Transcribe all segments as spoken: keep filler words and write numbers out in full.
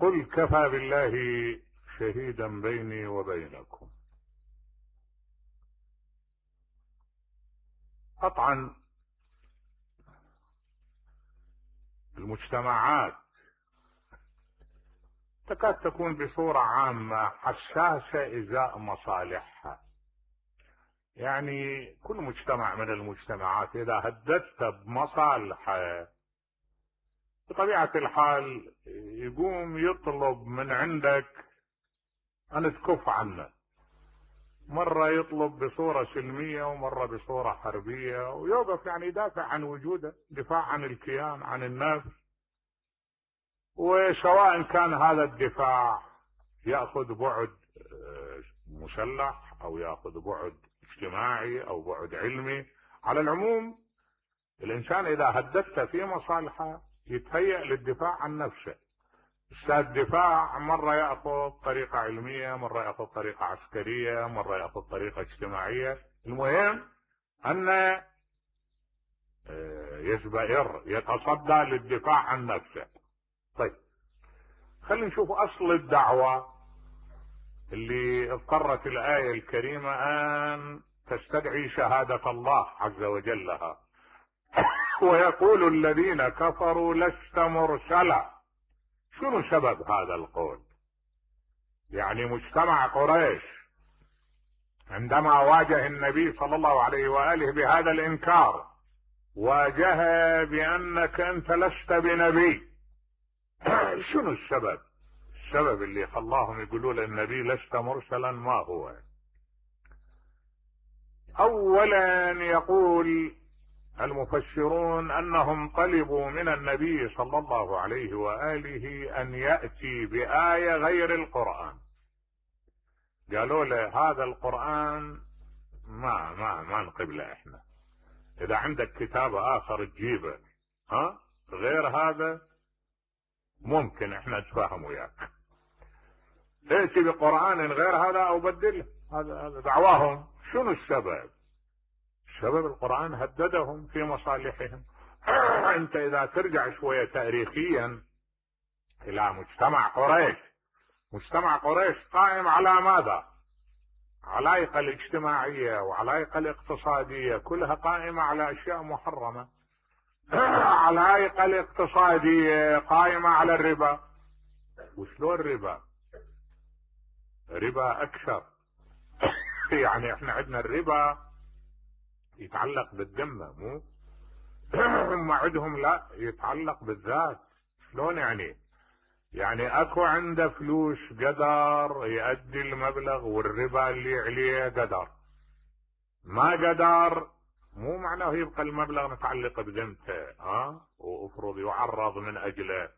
قل كفى بالله شهيدا بيني وبينكم. قطعا المجتمعات تكاد تكون بصورة عامة حساسة ازاء مصالحها. يعني كل مجتمع من المجتمعات اذا هددت بمصالحه بطبيعة الحال يقوم يطلب من عندك ان تكف عنه. مرة يطلب بصورة سلمية ومرة بصورة حربية، ويوقف يعني يدافع عن وجوده، دفاع عن الكيان، عن النفس. وسواء كان هذا الدفاع يأخذ بعد مسلح او يأخذ بعد اجتماعي او بعد علمي، على العموم الانسان اذا هددته في مصالحه يتهيأ للدفاع عن نفسه. الدفاع مرة يأخذ طريقة علمية، مرة يأخذ طريقة عسكرية، مرة يأخذ طريقة اجتماعية. المهم أن يزبئر يتصدى للدفاع عن نفسه. طيب خلينا نشوف أصل الدعوة اللي اضطرت الآية الكريمة أن تستدعي شهادة الله عز وجل لها. ويقول الذين كفروا لست مرسلا. شنو سبب هذا القول؟ يعني مجتمع قريش عندما واجه النبي صلى الله عليه وآله بهذا الإنكار، واجهه بأنك أنت لست بنبي. شنو السبب؟ السبب اللي خلاهم يقولوا للنبي لست مرسلا ما هو؟ أولا يقول المفسرون أنهم طلبوا من النبي صلى الله عليه وآله أن يأتي بآية غير القرآن. قالوا له هذا القرآن ما ما ما نقبله احنا، إذا عندك كتاب آخر تجيبه، ها غير هذا ممكن احنا نتفاهم وياك. ائتي بقرآن غير هذا أو بدله. هذا دعواهم. شنو السبب؟ السبب القرآن هددهم في مصالحهم. انت اذا ترجع شوية تاريخيا الى مجتمع قريش، مجتمع قريش قائم على ماذا؟ علائق الاجتماعية وعلائق الاقتصادية كلها قائمة على اشياء محرمة. علائق الاقتصادية قائمة على الربا. وشلون الربا؟ ربا اكثر. يعني احنا عندنا الربا يتعلق بالذمة، مو هم عندهم لا يتعلق بالذات. شلون يعني؟ يعني اكو عنده فلوس قدر يؤدي المبلغ والربا اللي عليه قدر، ما قدر مو معناه يبقى المبلغ متعلق بذمته، ها وافرض يعرض من اجله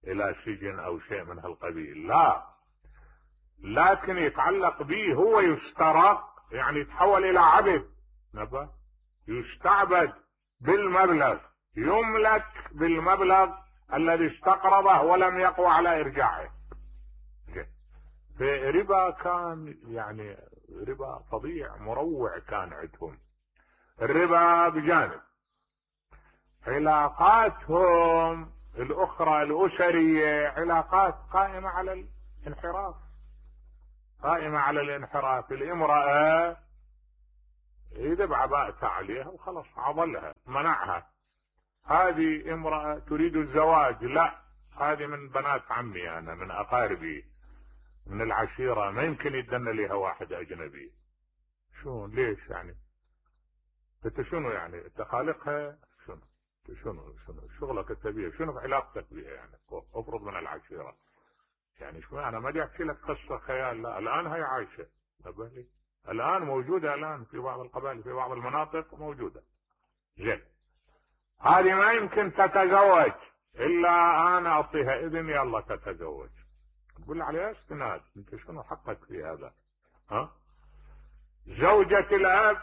الى سجن او شيء من هالقبيل، لا، لكن يتعلق به هو يسترق، يعني يتحول الى عبد، نبا يستعبد بالمبلغ، يملك بالمبلغ الذي استقرضه ولم يقوى على ارجاعه. فربا كان يعني ربا فظيع مروع كان عندهم. الربا بجانب علاقاتهم الاخرى الاسرية علاقات قائمة على الانحراف، قائمة على الانحراف. الامرأة اذا بعباءتها عليها وخلص عضلها منعها، هذه امرأة تريد الزواج، لا هذه من بنات عمي انا من اقاربي من العشيرة، ما يمكن يدن لها واحد اجنبي. شو ليش يعني؟ انت شنو يعني؟ انت خالقها؟ شنو شنو شنو شغلك انت بيها؟ شنو علاقتك بيها يعني؟ افرض من العشيرة يعني شو؟ انا ما بدي احكي لك قصة خيال، لا الان هي عايشة، بالي الان موجودة، الان في بعض القبائل في بعض المناطق موجودة. زين هذه ما يمكن تتزوج الا انا اعطيها اذن يلا تتزوج. تقول عليها استناد، انت شنو حقك في هذا؟ ها زوجة الاب،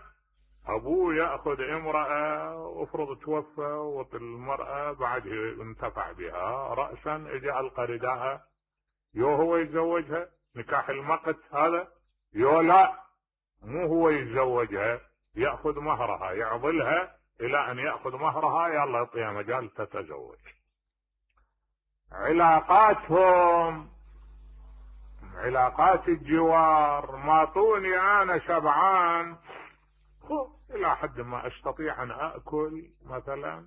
ابوه ياخذ امرأة وافرض توفى والمرأة بعد انتفع بها رأسا اجى القى رداءها، يو هو يتزوجها نكاح المقت هذا، يو لا مو هو يتزوجها، يأخذ مهرها يعضلها الى ان يأخذ مهرها يلا يعطيها مجال تتزوج. علاقاتهم علاقات الجوار، ماطوني انا شبعان الى حد ما استطيع ان اكل مثلا،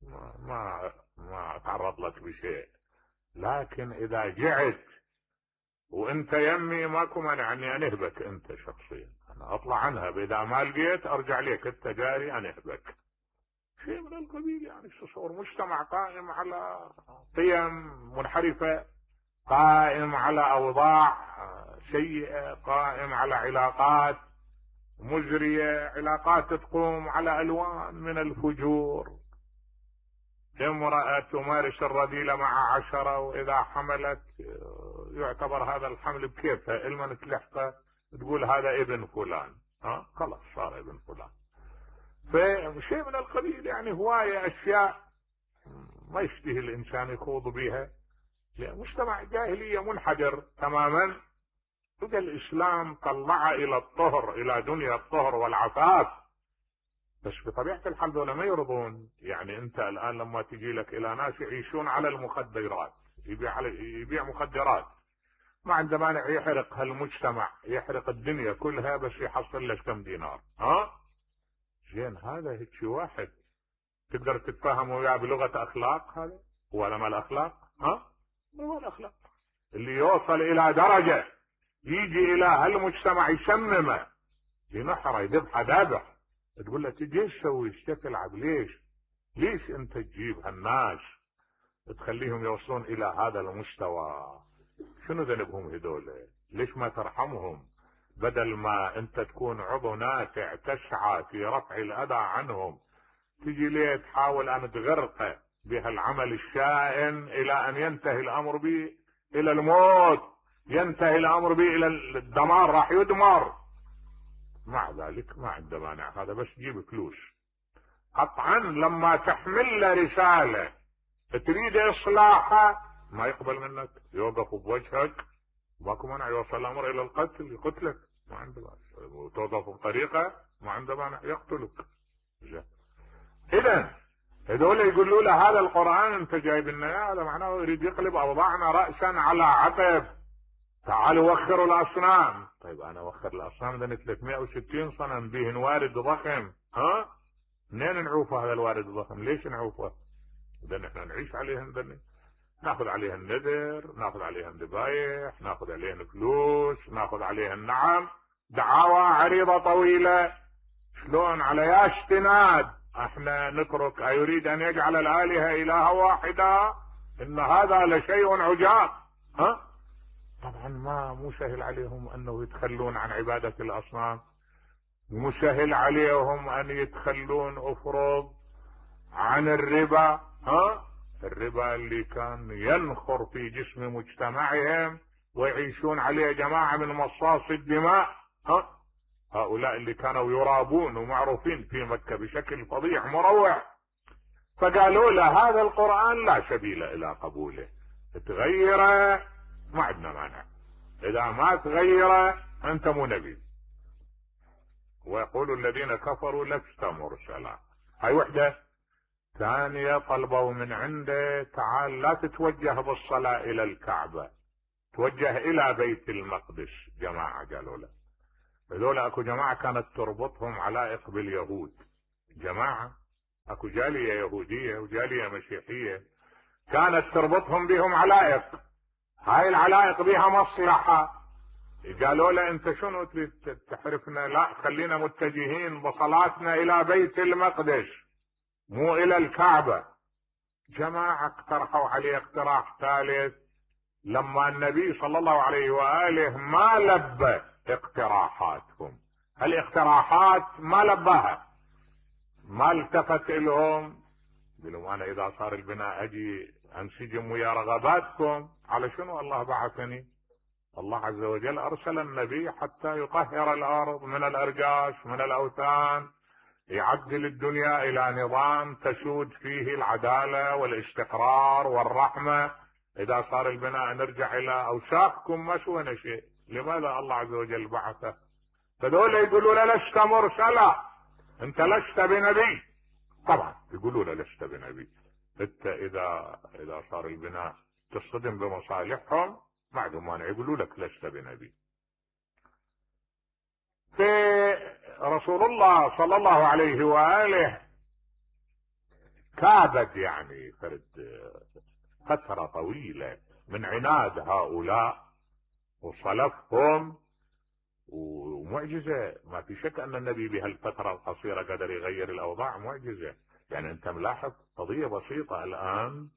ما ما, ما اتعرض لك بشيء. لكن اذا جعت وانت يمي ماكو مانع اني انهبك انت شخصيا، انا اطلع عنها، اذا ما لقيت ارجع لك انت جاري انهبك، شيء من القبيل. يعني تصور مجتمع قائم على قيم منحرفة، قائم على اوضاع سيئة، قائم على علاقات مزرية، علاقات تقوم على الوان من الفجور. امرأة تمارس الرذيلة مع عشرة، واذا حملت يعتبر هذا الحمل بكيفها، المن تلحقه تقول هذا ابن فلان، ها خلاص صار ابن فلان. فشيء من القبيل، يعني هواية اشياء ما يشتهي الانسان يخوض بها، مجتمع جاهلية منحدر تماما. إذا الاسلام طلع الى الطهر، الى دنيا الطهر والعفاف، بس بطبيعة الحال دول ما يرضون. يعني انت الان لما تجي لك الى ناس يعيشون على المخدرات، يبيع على يبيع مخدرات، ما عنده مانع يحرق هالمجتمع، يحرق الدنيا كلها بس يحصل لك كم دينار، ها زين. هذا هيك واحد تقدر تتفاهم وياه بلغة اخلاق؟ هذا ولا ما الاخلاق؟ ها مو الاخلاق اللي يوصل الى درجة يجي الى هالمجتمع يشممه، ينحره، يذبحه ذبح، تقول له تجي ايش تسوي؟ ايش تلعب؟ ليش؟ ليش انت تجيب هالناس تخليهم يوصلون الى هذا المستوى؟ شنو ذنبهم هذول؟ ليش ما ترحمهم؟ بدل ما انت تكون عضو نافع تسعى في رفع الاذى عنهم، تجي ليه تحاول ان تغرقه بهالعمل الشائن الى ان ينتهي الامر به الى الموت، ينتهي الامر به الى الدمار، راح يدمر. مع ذلك ما عنده مانع، هذا بس يجيب فلوس. قطعا لما تحمل له رسالة تريد اصلاحها ما يقبل منك، يوقف بوجهك، ماكو مانع يوصل الامر الى القتل، يقتلك، ما عنده مانع. وتوظف بطريقة ما عنده مانع يقتلك. اذا هذول يقولوا له هذا القرآن انت جايب لنا، هذا معناه يريد يقلب اوضاعنا رأسا على عقب. تعالوا وخروا الاصنام. طيب انا وخر الاصنام ده ثلاثمائة وستين صنم بهن وارد ضخم، ها منين نعوفه هذا الوارد الضخم؟ ليش نعوفه؟ اذا نحن نعيش عليهن دني. ناخذ عليهن نذر، ناخذ عليهن ذبايح، ناخذ عليهن فلوس، ناخذ عليهن نعم دعاوى عريضة طويلة. شلون على ياش تناد احنا نترك ايريد ان يجعل الالهة الهة واحدة؟ ان هذا لشيء عجاب. ها طبعا ما مو سهل عليهم انه يتخلون عن عبادة الاصنام، مو سهل عليهم ان يتخلون افرض عن الربا، ها الربا اللي كان ينخر في جسم مجتمعهم ويعيشون عليه جماعة من مصاص الدماء، ها هؤلاء اللي كانوا يرابون ومعروفين في مكة بشكل فظيع مروع. فقالوا له هذا القرآن لا سبيل الى قبوله، تغيره ما عندنا مانع، اذا ما تغيره انت مو نبي. ويقول الذين كفروا لست مرسلا. هاي وحدة. ثانية طلبوا من عنده تعال لا تتوجه بالصلاة الى الكعبة، توجه الى بيت المقدس. جماعة قالوا له، هذول اكو جماعة كانت تربطهم علائق باليهود، جماعة اكو جالية يهودية وجالية مسيحية كانت تربطهم بهم علائق، هاي العلائق بها مصلحة. قالوا له انت شنو تريد تحرفنا؟ لا خلينا متجهين بصلاتنا الى بيت المقدس مو الى الكعبة. جماعة اقترحوا عليه اقتراح ثالث، لما النبي صلى الله عليه وآله ما لبى اقتراحاتهم، الاقتراحات ما لباها، ما التفت لهم، قالوا انا اذا صار البناء اجي انسجم ويا رغباتكم. على شنو الله بعثني؟ الله عز وجل ارسل النبي حتى يطهر الارض من الارجاش من الاوثان، يعدل الدنيا الى نظام تسود فيه العدالة والاستقرار والرحمة. اذا صار البناء نرجع الى اوساخكم ما سوينا شيء. لماذا الله عز وجل بعثه؟ فدول يقولوا له لست مرسلا، انت لست بنبي. طبعا يقولوا له لست بنبي، انت اذا اذا صار البناء تصطدم بمصالحهم ما عندهم مانع يقولوا لك لست بنبي. في رسول الله صلى الله عليه وآله كابد يعني فرد فترة طويلة من عناد هؤلاء وصلفهم، ومعجزة ما في شك ان النبي بهالفترة القصيرة قدر يغير الاوضاع، معجزة. يعني انت ملاحظ قضية بسيطة الان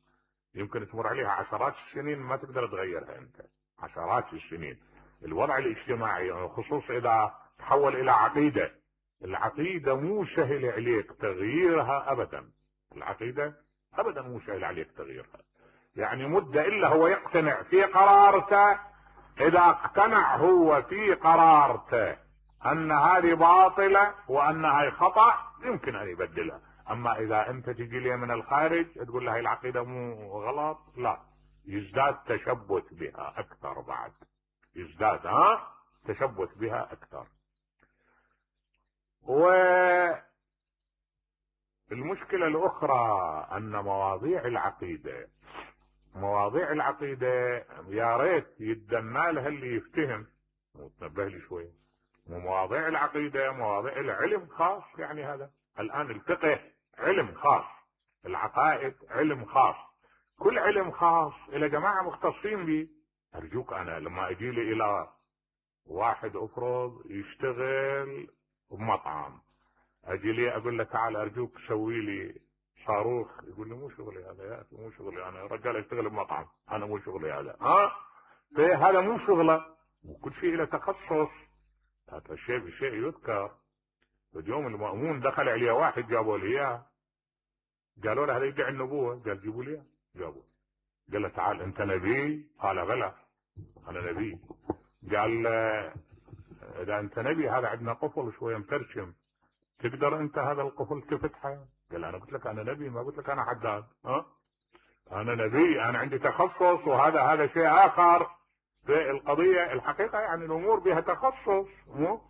يمكن تمر عليها عشرات السنين ما تقدر تغيرها انت، عشرات السنين. الوضع الاجتماعي خصوصا اذا تحول الى عقيدة، العقيدة مو سهل عليك تغييرها ابدا، العقيدة ابدا مو سهل عليك تغييرها. يعني مدة الا هو يقتنع في قرارته، اذا اقتنع هو في قرارته ان هذه باطلة وان هاي خطأ يمكن ان يبدلها. اما اذا انت تجي لي من الخارج تقول له هاي العقيدة مو غلط، لا، يزداد تشبث بها اكثر، بعد يزداد ها تشبث بها اكثر. والمشكلة الاخرى ان مواضيع العقيدة مواضيع العقيدة يا ريت يتدنى لها اللي يفتهم وتنبه لي شوية. مواضيع العقيدة مواضيع العلم خاص، يعني هذا الان الفقه علم خاص، العقائد علم خاص، كل علم خاص الى جماعة مختصين به. ارجوك انا لما اجي لي الى واحد افرض يشتغل بمطعم، اجي لي اقول له تعال ارجوك سوي لي صاروخ، يقول لي مو شغلي هذا يا اخي، مو شغلي انا رجال اشتغل بمطعم، انا مو شغلي هذا. ها هذا مو شغله، وكل شيء له تخصص. هذا الشيء بشيء يذكر. اليوم المأمون دخل عليه واحد جابوا له اياه، قالوا له هذا يدعي النبوة، قال جيبوا لي اياه، جابوه. قال له تعال انت نبي؟ قال بلى انا نبي. قال اذا انت نبي هذا عندنا قفل شويه مترشم، تقدر انت هذا القفل تفتحه؟ قال انا قلت لك انا نبي، ما قلت لك انا حداد. ها انا نبي، انا عندي تخصص، وهذا هذا شيء اخر في القضيه. الحقيقه يعني الامور بها تخصص، مو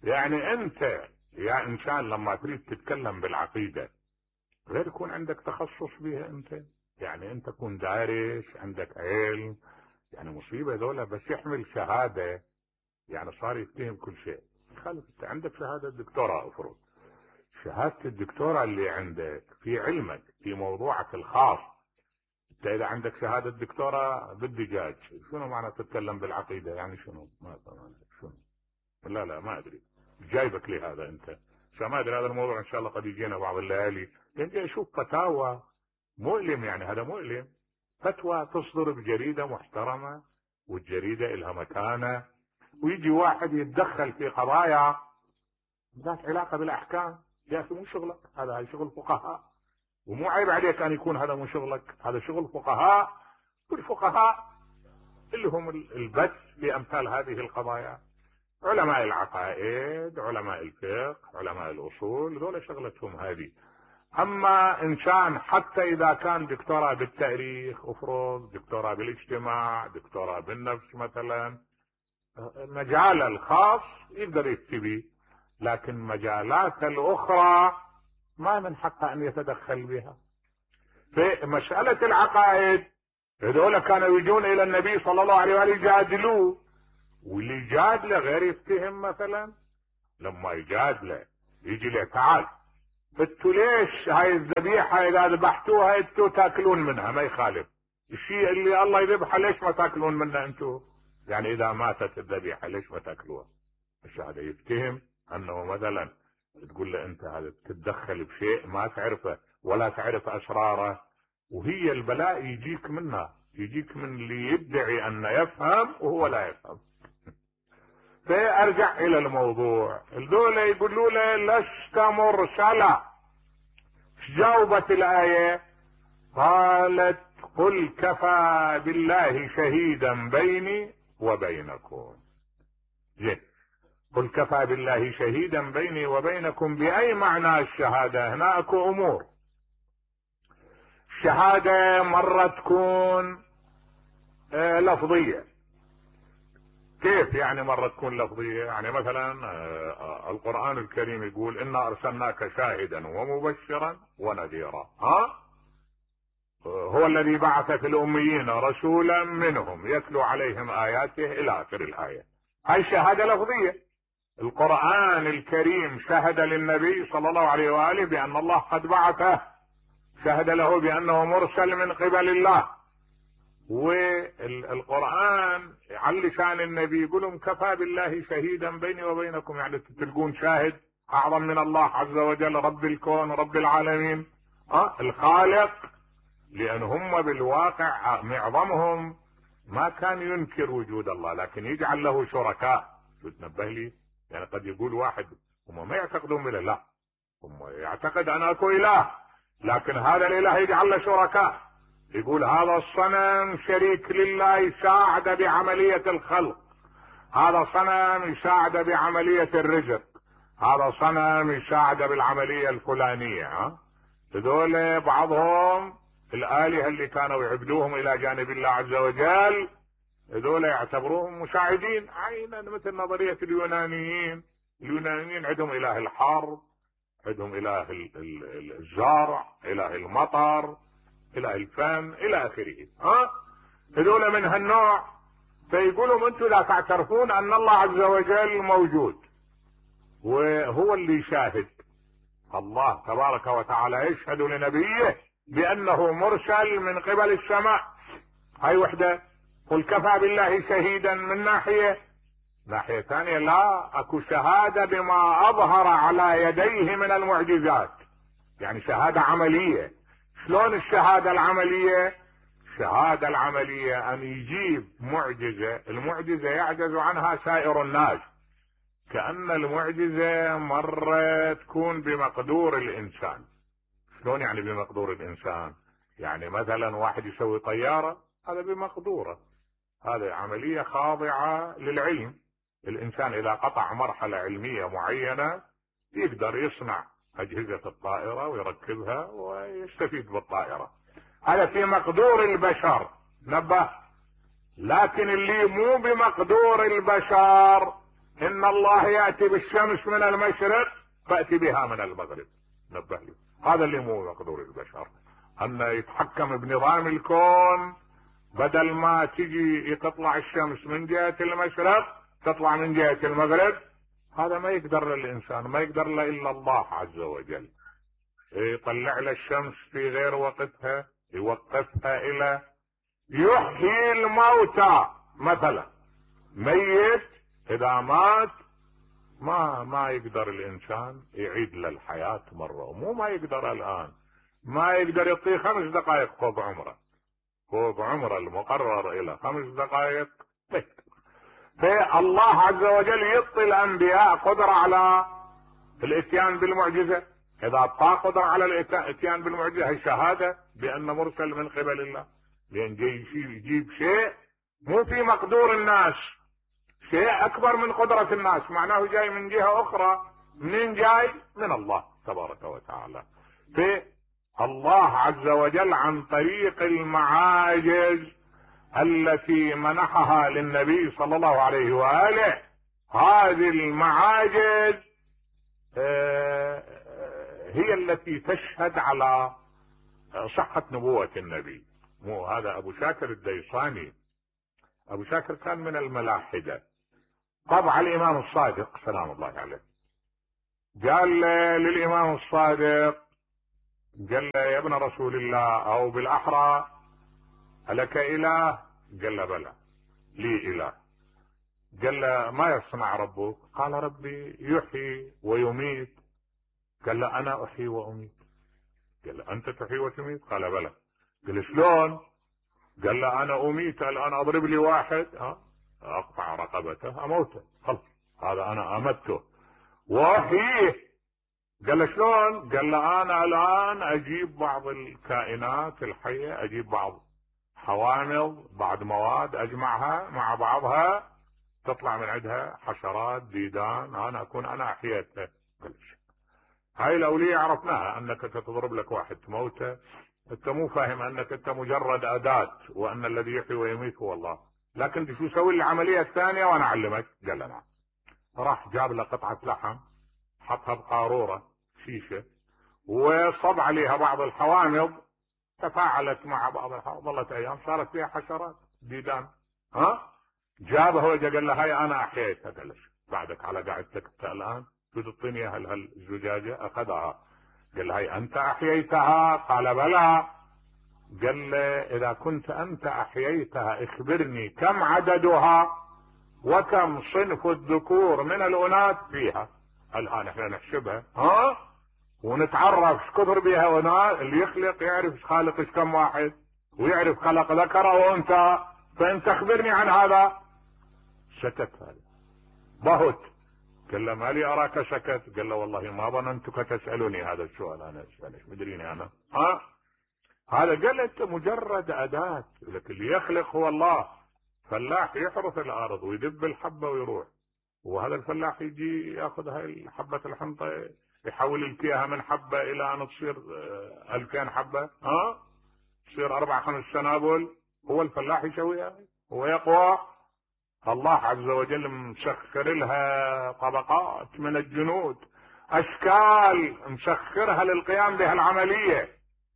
يعني انت يا انسان لما تريد تتكلم بالعقيده غير يكون عندك تخصص بها انت، يعني انت تكون دارس عندك علم. يعني مصيبه ذولا بس يحمل شهاده يعني صار يتهم كل شيء. خالف انت عندك شهاده دكتوراه، افرض شهادة الدكتوراه اللي عندك في علمك في موضوعك الخاص، انت اذا عندك شهادة دكتوراه بالدجاج شنو معنى تتكلم بالعقيدة؟ يعني شنو؟ ما شنو؟ لا لا ما ادري جايبك لي هذا انت، عشان ما ادري هذا الموضوع ان شاء الله قد يجينا بعض الليالي. يعني اشوف فتاوى مؤلم، يعني هذا مؤلم، فتوى تصدر بجريدة محترمة والجريدة لها مكانة، ويجي واحد يتدخل في قضايا ذات علاقة بالاحكام. يا اخي مو شغلك هذا، هاي شغل فقهاء، ومو عيب عليك ان يكون هذا مو شغلك، هذا شغل فقهاء. والفقهاء اللي هم البث في امثال هذه القضايا، علماء العقائد، علماء الفقه، علماء الاصول، ذولا شغلتهم هذه. اما انسان حتى اذا كان دكتوراه بالتاريخ، افرض دكتوراه بالاجتماع، دكتوراه بالنفس مثلا، مجال الخاص يقدر يفتي، لكن مجالات الاخرى ما من حقه ان يتدخل بها. في مسألة العقائد هذول كانوا يجون الى النبي صلى الله عليه وآله يجادلوه، واللي يجادله غير يفتهم. مثلا لما يجادله يجي له تعال انتوا ليش هاي الذبيحة اذا ذبحتوها انتوا تاكلون منها؟ ما يخالف الشيء اللي الله يذبحه ليش ما تاكلون منه انتوا؟ يعني اذا ماتت الذبيحة ليش ما تاكلوها؟ مش هذا يفتهم انه مثلا تقول له انت هذا تتدخل بشيء ما تعرفه ولا تعرف اسراره، وهي البلاء يجيك منها، يجيك من اللي يدعي انه يفهم وهو لا يفهم. فارجع الى الموضوع، الدولة يقولوا له لست مرسلا. جاوبت الايه قالت قل كفى بالله شهيدا بيني وبينكم. زين، قل كفى بالله شهيدا بيني وبينكم بأي معنى الشهادة؟ هنا اكو امور. الشهادة مرة تكون آه لفظية. كيف يعني مرة تكون لفظية؟ يعني مثلا آه القرآن الكريم يقول إنا أرسلناك شاهدا ومبشرا ونذيرا. ها هو الذي بعث في الأميين رسولا منهم يتلو عليهم آياته إلى آخر الآية. هاي شهادة لفظية. القرآن الكريم شهد للنبي صلى الله عليه وآله بأن الله قد بعثه، شهد له بأنه مرسل من قبل الله. والقرآن على لسان النبي يقولهم كفى بالله شهيدا بيني وبينكم، يعني تلقون شاهد أعظم من الله عز وجل رب الكون رب العالمين أه الخالق. لأن هم بالواقع معظمهم ما كان ينكر وجود الله، لكن يجعل له شركاء. تنبه لي، يعني قد يقول واحد هم ما يعتقدون بالله، هم يعتقد أن أكو إله، لكن هذا الإله يجعل له شركاء. يقول هذا الصنم شريك لله يساعد بعملية الخلق، هذا صنم يساعد بعملية الرزق، هذا صنم يساعد بالعملية الفلانية. ها هذول بعضهم الآلهة اللي كانوا يعبدوهم إلى جانب الله عز وجل، هذول يعتبروهم مساعدين عينا، مثل نظرية اليونانيين. اليونانيين عندهم إله الحرب، عندهم إله الزرع، إله المطر، إله الفن إلى آخره. ها هذول من هالنوع. فيقولوا انتم لا تعترفون أن الله عز وجل موجود، وهو اللي يشاهد. الله تبارك وتعالى يشهد لنبيه بأنه مرسل من قبل السماء. هاي وحدة. قل كفى بالله شهيدا من ناحية. ناحية ثانية لا، اكو شهادة بما اظهر على يديه من المعجزات، يعني شهادة عملية. شلون الشهادة العملية؟ الشهادة العملية ان يجيب معجزة، المعجزة يعجز عنها سائر الناس. كأن المعجزة مرة تكون بمقدور الانسان. شلون يعني بمقدور الانسان؟ يعني مثلا واحد يسوي طيارة، هذا بمقدوره، هذه عملية خاضعة للعلم. الانسان اذا قطع مرحلة علمية معينة يقدر يصنع اجهزة الطائرة ويركبها ويستفيد بالطائرة، هذا في مقدور البشر. نبه. لكن اللي مو بمقدور البشر، ان الله يأتي بالشمس من المشرق فأتي بها من المغرب. نبه لي، هذا اللي مو بمقدور البشر، ان يتحكم بنظام الكون، بدل ما تجي تطلع الشمس من جهة المشرق تطلع من جهة المغرب. هذا ما يقدر الانسان، ما يقدر له الا الله عز وجل. يطلع له الشمس في غير وقتها، يوقفها الى يحيي الموتى. مثلا ميت اذا مات ما ما يقدر الانسان يعيد له الحياة مرة، ومو ما يقدر الان، ما يقدر يعطيه خمس دقائق فوق عمره، فوق عمره المقرر الى خمس دقائق. فالله عز وجل يعطي الانبياء قدرة على الاتيان بالمعجزة. اذا اعطاه قدرة على الاتيان بالمعجزة هي شهادة بان مرسل من قبل الله، لان جاي يجيب شيء مو في مقدور الناس، شيء اكبر من قدرة الناس، معناه جاي من جهة اخرى. منين جاي؟ من الله تبارك وتعالى. فالله عز وجل عن طريق المعاجز التي منحها للنبي صلى الله عليه وآله، هذه المعاجز هي التي تشهد على صحة نبوة النبي. مو هذا ابو شاكر الديصاني، ابو شاكر كان من الملاحدة، طبع الامام الصادق سلام الله عليه، قال للامام الصادق، قال له يا ابن رسول الله، او بالاحرى ألك إله؟ قال له بلى لي إله. قال له ما يصنع ربك؟ قال ربي يحيي ويميت. قال له أنا أحيي وأميت. قال له أنت تحيي وتميت؟ قال بلى. قال شلون؟ قال له أنا أميت الآن، أضرب لي واحد ها أقطع رقبته أموته، خلص هذا أنا أمته وأحييه. قال له شلون؟ قال له أنا الآن أجيب بعض الكائنات الحية، أجيب بعض حوامض، بعض مواد أجمعها مع بعضها تطلع من عندها حشرات ديدان، أنا أكون أنا أحييتها. هاي الأولية عرفناها، أنك تضرب لك واحد تموته، أنت مو فاهم أنك أنت مجرد أداة، وأن الذي يحيي ويميت هو الله. لكن شو سوي العملية الثانية وأنا أعلمك؟ قال له نعم. راح جاب له قطعة لحم، حطها بقارورة شيشة، وصب عليها بعض الحوامض، تفاعلت مع بعضها، ظلت ايام صارت فيها حشرات ديدان. ها جابها وجا قال له هاي انا احييتها. قال له بعدك على قاعدتك انت الان تريد تعطيني هالزجاجه؟ اخذها قال له هاي انت احييتها؟ قال بلى. قال له اذا كنت انت احييتها اخبرني كم عددها وكم صنف الذكور من الاناث فيها. الان احنا نحسبها ها ونتعرف ايش كثر بها وناس. اللي يخلق يعرف ايش خالق ايش كم واحد، ويعرف خلق ذكر وانثى، فانت اخبرني عن هذا. سكت هذا بهت. قال له ما لي اراك سكت؟ قال له والله ما ظننتك تسالني هذا السؤال، انا اسالك مدريني انا. ها هذا قال انت مجرد اداه، لكن اللي يخلق هو الله. فلاح يحرث الارض ويدب الحبه ويروح، وهذا الفلاح يجي ياخذ هاي حبه الحنطه يحول الكيها من حبه الى ان تصير ألفين حبه، ها تصير اربع خمس سنابل. هو الفلاح يسويها، هو يقوى. الله عز وجل مسخر لها طبقات من الجنود، اشكال مسخرها للقيام بهالعمليه.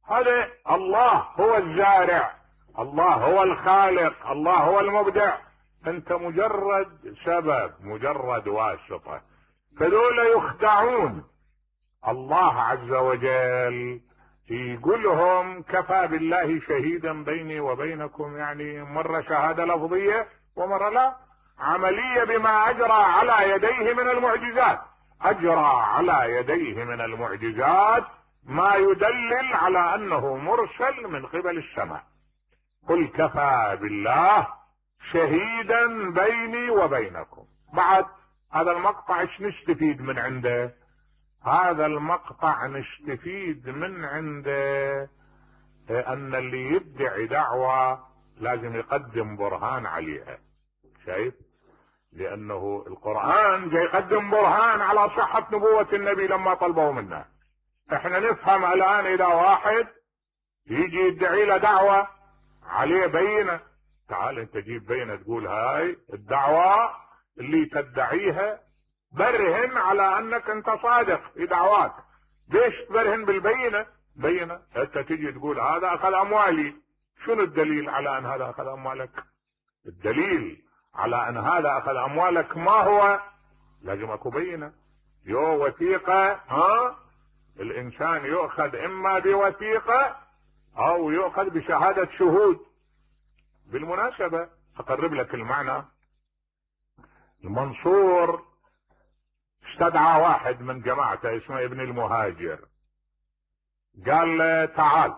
هذا الله هو الزارع، الله هو الخالق، الله هو المبدع. انت مجرد سبب، مجرد واسطه. فذولا يخدعون. الله عز وجل يقول لهم كفى بالله شهيدا بيني وبينكم، يعني مرة شهادة لفظية ومرة لا، عملية بما أجرى على يديه من المعجزات. أجرى على يديه من المعجزات ما يدلل على أنه مرسل من قبل السماء. قل كفى بالله شهيدا بيني وبينكم. بعد هذا المقطع ايش نستفيد من عنده؟ هذا المقطع نستفيد من عنده ان اللي يدعي دعوة لازم يقدم برهان عليها. شايف؟ لانه القرآن جاي يقدم برهان على صحة نبوة النبي لما طلبوا منه. احنا نفهم الان اذا واحد يجي يدعي له دعوة عليه بينة، تعال انت جيب بينة تقول هاي الدعوة اللي تدعيها، برهن على انك انت صادق في دعواك. ليش تبرهن بالبينة؟ بينة انت تجي تقول هذا اخذ اموالي، شنو الدليل على ان هذا اخذ اموالك؟ الدليل على ان هذا اخذ اموالك ما هو؟ لازم اكو بينة. يو وثيقة، ها الانسان يؤخذ اما بوثيقة او يؤخذ بشهادة شهود. بالمناسبة اقرب لك المعنى. المنصور استدعى واحد من جماعته اسمه ابن المهاجر، قال له تعال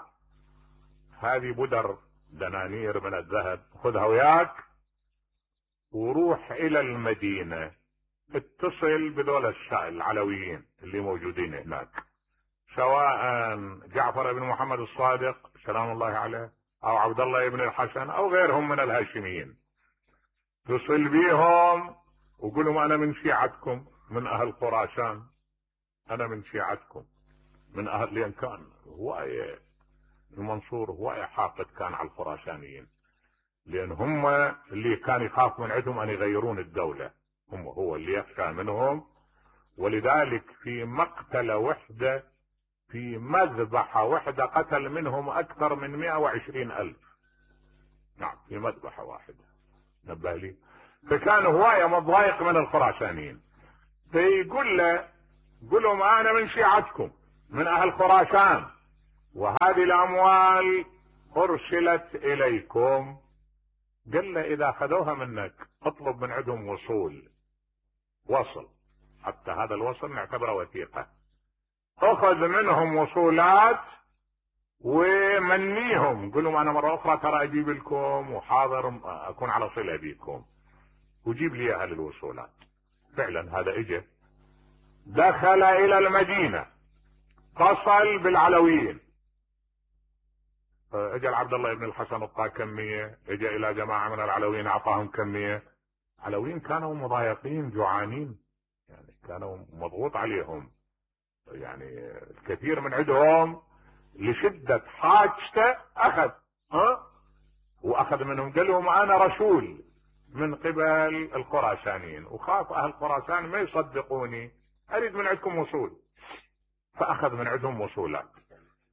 هذه بدر دنانير من الذهب خذها وياك وروح الى المدينة، اتصل بذول العلويين اللي موجودين هناك، سواء جعفر بن محمد الصادق سلام الله عليه او عبد الله بن الحسن او غيرهم من الهاشميين، اتصل بيهم وقول لهم انا من شيعتكم من اهل خراسان، انا من شيعتكم من اهل، لان كان هواية المنصور هواية حاقد كان على الخراسانيين، لان هم اللي كان يخاف من عندهم ان يغيرون الدولة، هم هو اللي يخشى منهم. ولذلك في مقتل وحدة، في مذبحة وحدة قتل منهم اكثر من مئة وعشرين الف. نعم في مذبحة واحدة، نبه لي. فكان هواية مضايق من الخراسانيين، فيقول له قل لهم انا من شيعتكم من اهل خراسان، وهذه الاموال ارسلت اليكم. قال له اذا اخذوها منك اطلب من عندهم وصول، وصل، حتى هذا الوصل نعتبره وثيقة. اخذ منهم وصولات ومنيهم، قل لهم انا مرة اخرى ترى اجيب لكم وحاضر اكون على صلة بكم، وجيب لي اهل الوصولات. فعلا هذا اجى دخل الى المدينة، اتصل بالعلويين، اجى عبد الله بن الحسن اعطاه كمية، اجى الى جماعة من العلويين اعطاهم كمية. العلويين كانوا مضايقين جوعانين، يعني كانوا مضغوط عليهم، يعني الكثير من عندهم لشدة حاجته اخذ، ها واخذ منهم. قال لهم انا رسول من قبل الخراسانيين، وخاف اهل خراسان ما يصدقوني، اريد من عندكم وصول. فاخذ من عندهم وصولات،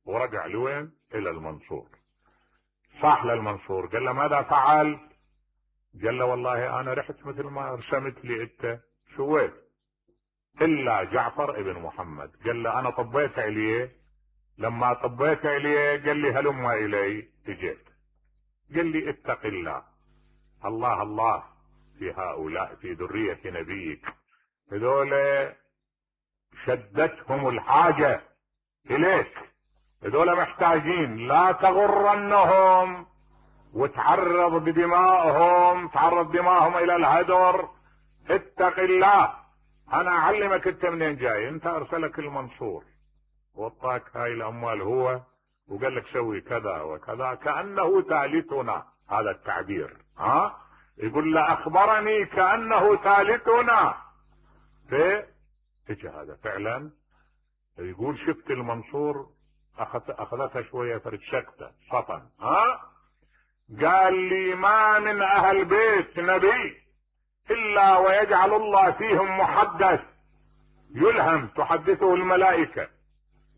ورجع لوين؟ الى المنصور. صاح للمنصور قال له ماذا فعل؟ قال له والله انا رحت مثل ما رسمت لي انت سويت، الا جعفر ابن محمد. قال له انا طبيت عليه، لما طبيت عليه قال لي هلم الي، اجيت قال لي اتق الله، الله الله في هؤلاء في ذرية نبيك، هذول شدتهم الحاجة اليك، هذول محتاجين، لا تغرنهم وتعرض بدمائهم، تعرض دمائهم الى الهدر، اتق الله. انا اعلمك انت منين جاي، انت ارسلك المنصور وطاك هاي الاموال هو وقال لك سوي كذا وكذا، كأنه ثالثنا، هذا التعبير. ها يقول له اخبرني كأنه ثالثنا. في اجى هذا فعلا يقول شفت المنصور اخذ اخذتها شويه فرد سكته سطن. ها قال لي ما من اهل بيت نبي الا ويجعل الله فيهم محدث يلهم تحدثه الملائكه،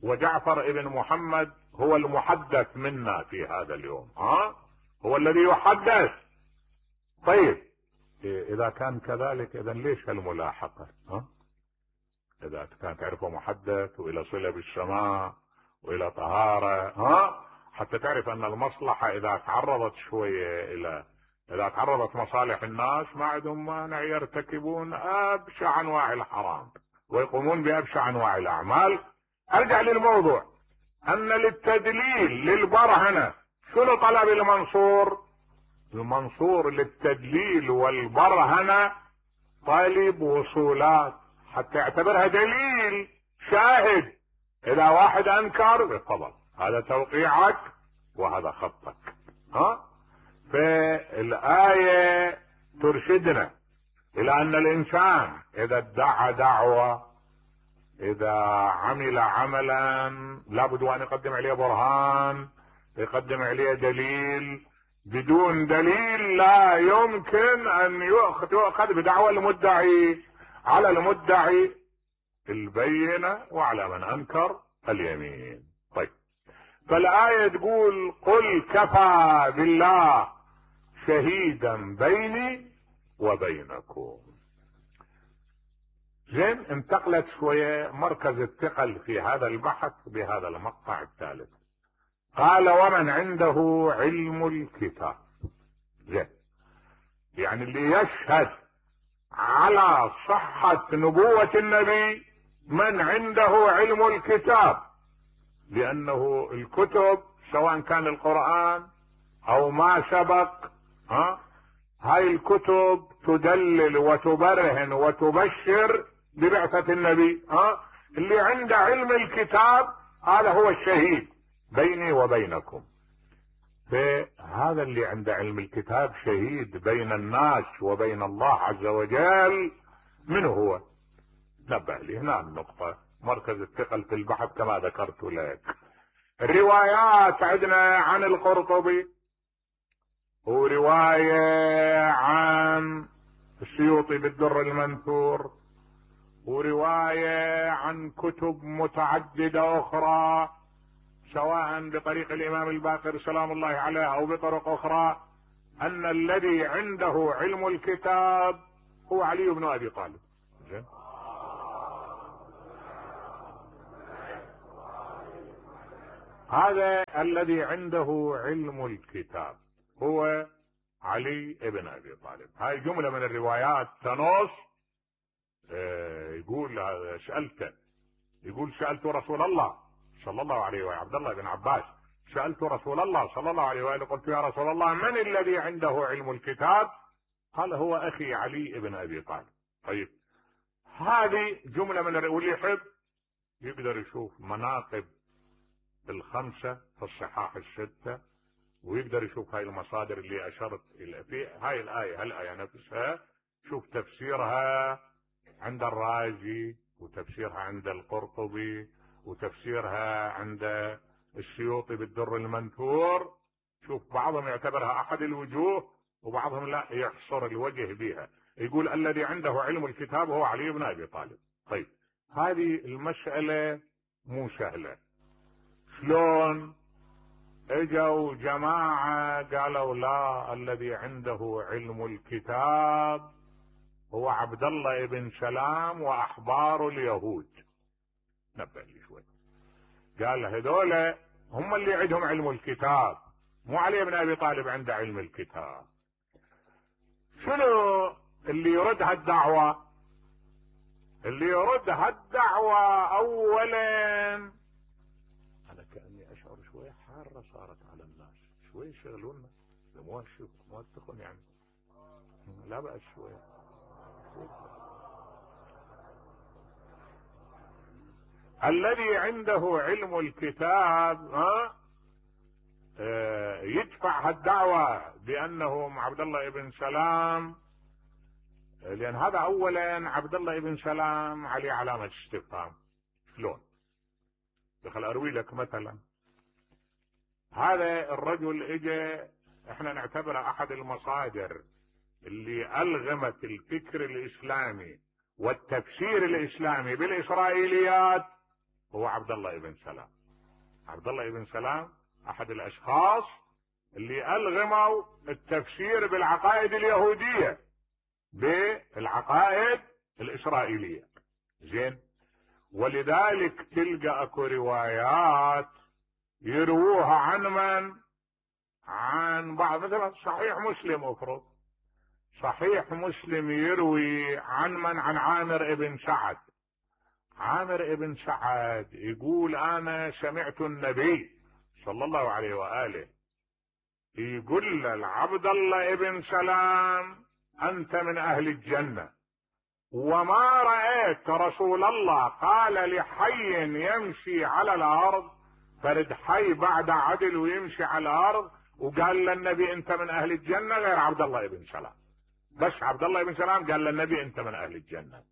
وجعفر ابن محمد هو المحدث منا في هذا اليوم. ها هو الذي يحدث. طيب اذا كان كذلك اذا ليش هالملاحقه؟ ها اذا كان تعرفه محدث والى صله بالسماء والى طهاره، ها حتى تعرف ان المصلحه اذا تعرضت شويه الى اذا تعرضت مصالح الناس ما عندهم مانع يرتكبون ابشع انواع الحرام ويقومون بابشع انواع الاعمال. ارجع للموضوع، ان للتدليل للبرهنه شنو طلب المنصور؟ المنصور للتدليل والبرهنه طالب وصولات حتى يعتبرها دليل شاهد. اذا واحد انكر تفضل هذا توقيعك وهذا خطك. ها فالايه ترشدنا الى ان الانسان اذا ادعى دعوه، اذا عمل عملا لابد ان يقدم عليه برهان، يقدم عليه دليل. بدون دليل لا يمكن ان يؤخذ بدعوى المدعي. على المدعي البينة وعلى من انكر اليمين. طيب فالآية تقول قل كفى بالله شهيدا بيني وبينكم. زين انتقلت شوية مركز الثقل في هذا البحث بهذا المقطع الثالث. قال ومن عنده علم الكتاب. زين يعني اللي يشهد على صحة نبوة النبي من عنده علم الكتاب، لأنه الكتب سواء كان القرآن أو ما سبق، ها هاي الكتب تدلل وتبرهن وتبشر ببعثة النبي. ها اللي عنده علم الكتاب هذا هو الشهيد بيني وبينكم. فهذا اللي عنده علم الكتاب شهيد بين الناس وبين الله عز وجل. من هو؟ نبه لي هنا النقطة، مركز الثقل في البحث كما ذكرت لك. الروايات عندنا عن القرطبي، ورواية عن السيوطي بالدر المنثور، ورواية عن كتب متعددة أخرى سواء بطريق الإمام الباقر سلام الله عليه أو بطرق أخرى، أن الذي عنده علم الكتاب هو علي بن أبي طالب. هذا الذي عنده علم الكتاب هو علي بن أبي طالب. هاي جملة من الروايات تنص. اه يقول سألته يقول سألت رسول الله صلى الله عليه وآله، عبد الله بن عباس، سألت رسول الله صلى الله عليه وآله قلت يا رسول الله من الذي عنده علم الكتاب؟ قال هو أخي علي بن أبي طالب. طيب هذه جملة من واللي يحب يقدر يشوف مناقب الخمسة في الصحاح الستة، ويقدر يشوف هاي المصادر اللي أشرت إلى في هاي الآية هالآية نفسها، شوف تفسيرها عند الرازي وتفسيرها عند القرطبي وتفسيرها عند السيوطي بالدر المنثور. شوف بعضهم يعتبرها أحد الوجوه وبعضهم لا يحصر الوجه بها، يقول الذي عنده علم الكتاب هو علي بن أبي طالب. طيب هذه المسألة مو سهلة. شلون اجوا جماعة قالوا لا، الذي عنده علم الكتاب هو عبد الله بن سلام واحبار اليهود. نبه لي شوي. قال هذول هم اللي عندهم علم الكتاب، مو علي بن ابي طالب عنده علم الكتاب. شنو اللي يرد هالدعوة؟ اللي يرد هالدعوة اولا، انا كأني اشعر شوي حارة صارت على الناس، شوي يشغلونا مو مو التخن يعني، لا بأس شوي. الذي عنده علم الكتاب ها اه يدفع هالدعوة بأنه عبد الله بن سلام، لأن هذا أولا عبد الله بن سلام عليه علامة استفهام. شلون؟ دخل أروي لك مثلا، هذا الرجل اجى، احنا نعتبره أحد المصادر اللي ألغمت الفكر الإسلامي والتفسير الإسلامي بالإسرائيليات، هو عبد الله بن سلام. عبد الله بن سلام أحد الأشخاص اللي ألغموا التفسير بالعقائد اليهودية بالعقائد الإسرائيلية. زين، ولذلك تلقى أكو روايات يرووها عن من؟ عن بعض، مثلا صحيح مسلم افرض، صحيح مسلم يروي عن من؟ عن عامر ابن سعد. عامر ابن سعد يقول انا سمعت النبي صلى الله عليه وآله يقول لعبد الله ابن سلام انت من اهل الجنة، وما رأيت رسول الله قال لحي يمشي على الارض، فرد حي بعد عدل ويمشي على الارض وقال للنبي انت من اهل الجنة غير عبد الله ابن سلام. بس عبد الله بن سلام قال للنبي انت من اهل الجنة.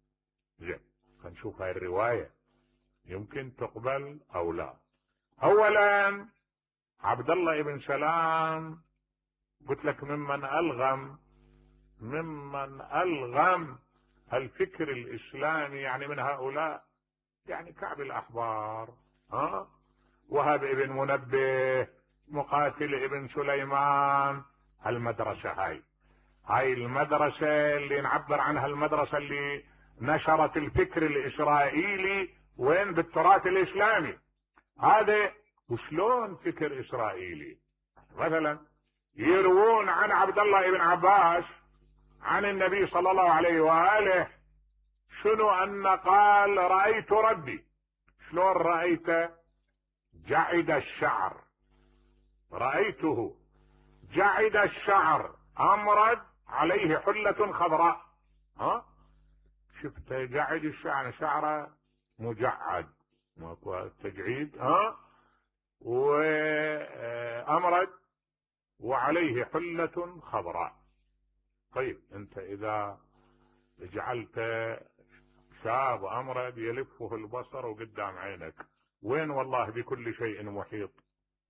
زين، فنشوف هاي الرواية يمكن تقبل او لا. اولا عبد الله بن سلام قلت لك ممن الغم ممن الغم الفكر الاسلامي، يعني من هؤلاء يعني كعب الاحبار، ها وهب ابن منبه، مقاتل ابن سليمان. المدرسة هاي هاي المدرسة اللي نعبر عنها المدرسة اللي نشرت الفكر الإسرائيلي وين؟ بالتراث الإسلامي. هذا وشلون فكر إسرائيلي؟ مثلا يروون عن عبد الله بن عباس عن النبي صلى الله عليه وآله شنو؟ أن قال رأيت ربي. شلون رأيته؟ جعد الشعر، رأيته جعد الشعر أمرد عليه حلة خضراء. ها شفت جعد الشعر، شعره مجعد ماكو تجعيد، ها وأمرد وعليه حلة خضراء. طيب انت اذا جعلت شاب أمرد يلفه البصر وقدام عينك، وين والله بكل شيء محيط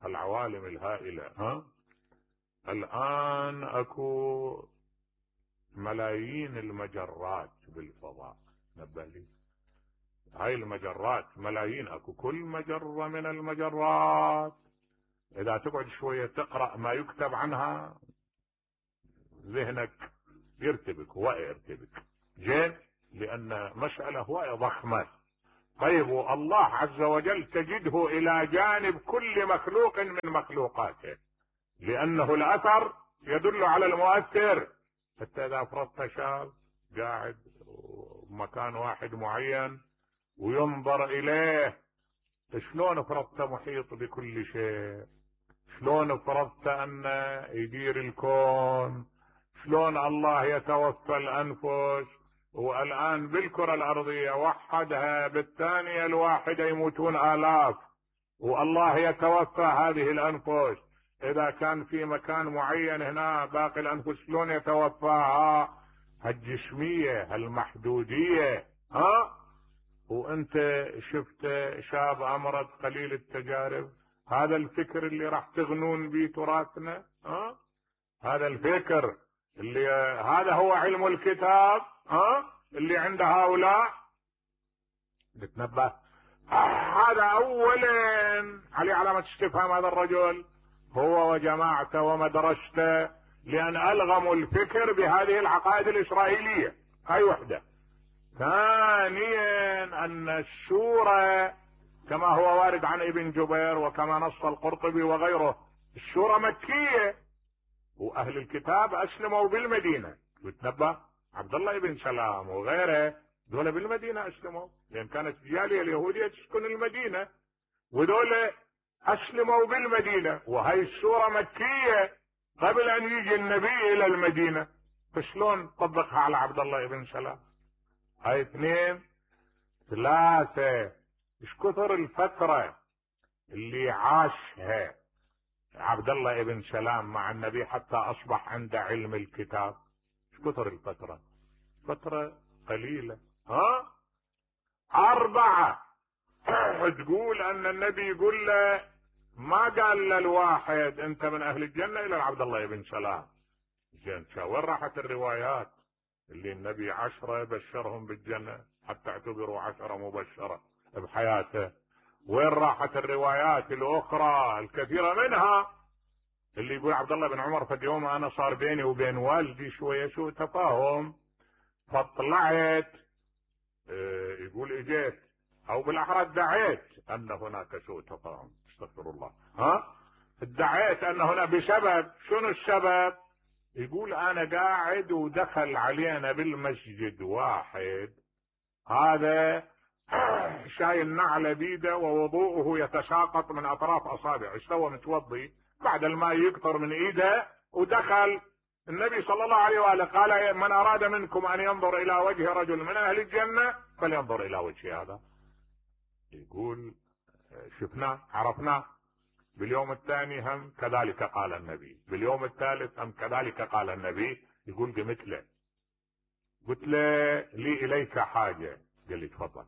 العوالم الهائلة. ها الآن أكو ملايين المجرات بالفضاء، نبه لي هاي المجرات ملايين، أكو كل مجرة من المجرات إذا تقعد شوية تقرأ ما يكتب عنها ذهنك يرتبك، هواء يرتبك. زين، لأن مسألة هواء ضخمة. طيب والله عز وجل تجده إلى جانب كل مخلوق من مخلوقاته، لأنه الأثر يدل على المؤثر. حتى إذا فرضت شاب قاعد مكان واحد معين وينظر إليه، شلون فرضت محيط بكل شيء؟ شلون فرضت أن يدير الكون؟ شلون الله يتوفى الأنفس؟ والآن بالكرة الأرضية وحدها بالثانية الواحدة يموتون آلاف، والله يتوفى هذه الأنفس. إذا كان في مكان معين هنا باقي الأنفس شلون يتوفاها؟ هالجسمية هالمحدودية. ها وانت شفت شاب أمرض قليل التجارب، هذا الفكر اللي راح تغنون به تراثنا. ها هذا الفكر اللي هذا هو علم الكتاب ها اللي عند هؤلاء. نتنبه آه هذا اولا عليه علامة استفهام هذا الرجل هو وجماعته ومدرسته، لان الغموا الفكر بهذه العقائد الاسرائيلية. هاي وحدة. ثانيا ان الشورى كما هو وارد عن ابن جبير وكما نص القرطبي وغيره، الشورى مكية، واهل الكتاب اسلموا بالمدينة. وتنبه عبد الله بن سلام وغيره دول بالمدينة اسلموا، لان كانت الجالية اليهودية تسكن المدينة، ودول اسلموا بالمدينة، وهي السورة مكية قبل ان يجي النبي الى المدينة. فشلون طبقها على عبد الله بن سلام؟ هاي اثنين. ثلاثة، ايش كثر الفترة اللي عاشها عبد الله بن سلام مع النبي حتى اصبح عنده علم الكتاب؟ ايش كثر الفترة؟ فترة قليلة. ها؟ أربعة، تقول أن النبي يقول له، ما قال للواحد أنت من أهل الجنة إلى عبد الله بن سلام. زين، وين راحت الروايات اللي النبي عشرة بشرهم بالجنة حتى اعتبروا عشرة مبشرة بحياته؟ وين راحت الروايات الأخرى الكثيرة منها اللي يقول عبد الله بن عمر في يوم أنا صار بيني وبين والدي شوية سوء تفاهم فطلعت، يقول اجيت او بالاحرى ادعيت ان هناك سوء تفاهم، استغفر الله، ها ادعيت ان هنا بسبب، شنو السبب؟ يقول انا قاعد ودخل علينا بالمسجد واحد هذا شايل نعل بيده ووضوءه يتساقط من اطراف اصابعه، ايش سوى؟ متوضي بعد الماء يقطر من ايده ودخل النبي صلى الله عليه وآله قال من أراد منكم أن ينظر إلى وجه رجل من أهل الجنة فلينظر إلى وجه هذا. يقول شفناه عرفناه. باليوم الثاني هم كذلك قال النبي، باليوم الثالث هم كذلك قال النبي. يقول قمت له قلت له لي إليك حاجة، قال لي تفضل.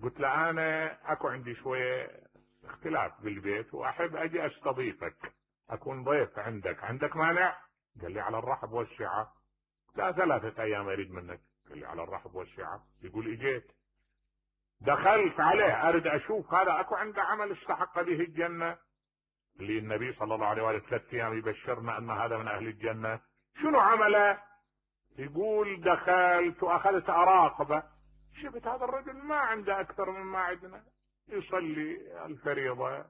قلت له أنا أكو عندي شوية اختلاف بالبيت وأحب أجي أستضيفك، أكون ضيف عندك، عندك مانع؟ قال لي على الرحب والسعة. لا ثلاثة أيام أريد منك. قال لي على الرحب والسعة. يقول إجيت دخلت عليه أريد أشوف هذا أكو عنده عمل استحق به الجنة، اللي النبي صلى الله عليه وآله ثلاث أيام يبشرنا أن هذا من أهل الجنة. شنو عمله؟ يقول دخلت وأخذت أراقبه، شفت هذا الرجل ما عنده أكثر مما عندنا، يصلي الفريضة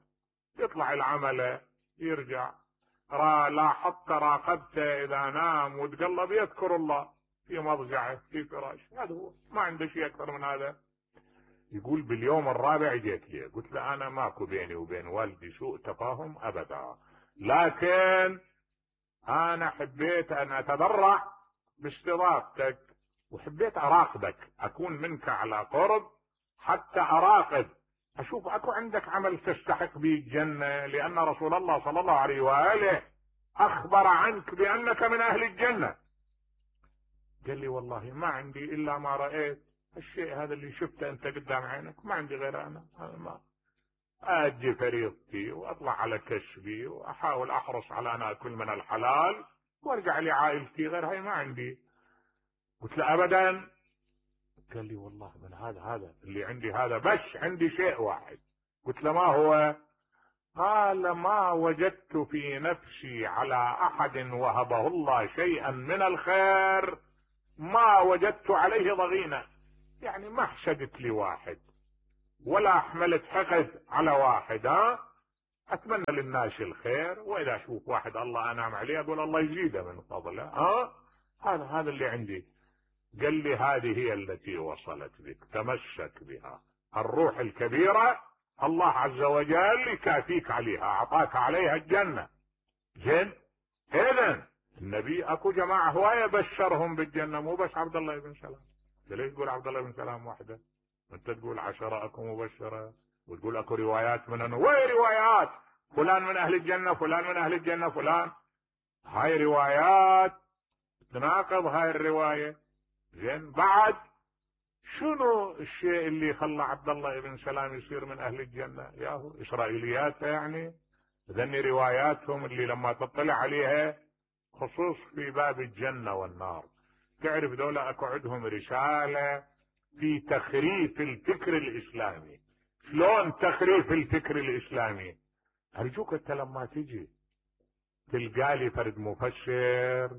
يطلع العمل يرجع، لاحظت راقبته اذا نام وتقلب يذكر الله في مضجعه في فراشه، هذا هو، ما عنده شيء اكثر من هذا. يقول باليوم الرابع جيت لي قلت له انا ماكو بيني وبين والدي سوء تفاهم ابدا، لكن انا حبيت ان اتبرع باستضافتك وحبيت اراقبك، اكون منك على قرب حتى اراقب اشوف اكو عندك عمل تستحق به الجنة، لان رسول الله صلى الله عليه وآله اخبر عنك بانك من اهل الجنة. قال لي والله ما عندي الا ما رأيت الشيء هذا اللي شفته انت قدام عينك، ما عندي غير انا ما اجي فريضتي واطلع على كشفي واحاول احرص على ان اكل من الحلال وارجع لعائلتي، غير هاي ما عندي. قلت له ابدا. قال لي والله من هذا هذا اللي عندي هذا، بس عندي شيء واحد. قلت له ما هو؟ قال ما وجدت في نفسي على احد وهبه الله شيئا من الخير ما وجدت عليه ضغينة، يعني ما حسدت لي واحد ولا حملت حقد على واحد، ها اتمنى للناس الخير، واذا اشوف واحد الله انعم عليه اقول الله يزيده من فضله، ها هذا هذا اللي عندي. قال لي هذه هي التي وصلت بك، تمسك بها، الروح الكبيرة الله عز وجل يكافيك عليها، اعطاك عليها الجنة. زين، اذن النبي اكو جماعة هواية بشرهم بالجنة، مو بس عبد الله بن سلام. ليش تقول عبد الله بن سلام وحده؟ انت تقول عشرة اكو مبشرة وتقول اكو روايات من انه، وين روايات فلان من اهل الجنة فلان من اهل الجنة فلان؟ هاي روايات تناقض هاي الرواية. زين، بعد شنو الشيء اللي خلى عبد الله بن سلام يصير من اهل الجنة؟ ياهو اسرائيليات يعني، ذني رواياتهم اللي لما تطلع عليها خصوص في باب الجنة والنار تعرف دولة اكو عندهم رسالة في تخريف الفكر الاسلامي. شلون تخريف الفكر الاسلامي؟ ارجوك انت لما تجي تلقالي فرد مفسر